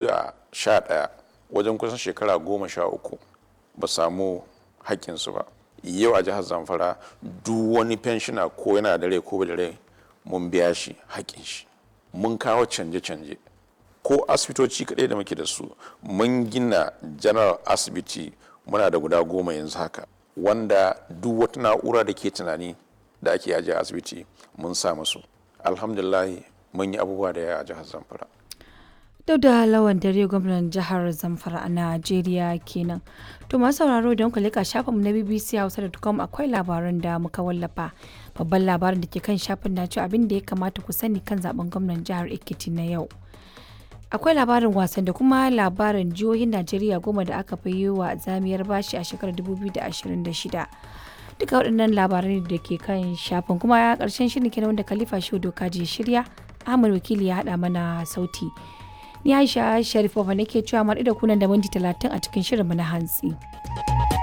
2011, wajen kusan shekara 13 ba samu haƙƙinsu ba. Yau a jihar Zamfara, duk wani fenshina, ko yana da rai ko bai da rai, mun biya shi haƙƙin shi. Mun kawo canje-canje ko asibitoci kaɗai da muke da su. Mun gina general asibiti, muna da guda 10 yanzu haka, wanda duk wata na'ura da ke tunani da ake ajiye a asibiti mun sa musu. Alhamdulillahi, mun yi abubuwa da yawa a jihar Zamfara. Dauda Lawan Dare, gwamnan jihar Zamfara a Najeriya kenan. To masu sauraro, don ku leka shafinmu na bbchausa.com, akwai labaran da muka wallafa. Babban labarin da ke kan shafin na cewa abin da ya kamata ku sani kan zaben gwamnan jihar Ekiti na yau. Akwai labarin wasan da kuma labarin jihohin Najeriya 10 da aka fi yi wa zamiyar bashi a shekarar 2026. Duka waɗannan labarai da ke kan shafin. Kuma ƙarshen shirin kenan, wanda Khalifa Shehu Dokaji ya shirya, Ahmad Wakili ya haɗa mana sauti. Ni Aisha Sharifova nake cewa mu da kunan da minti 30 a cikin shirinmu na hantsi.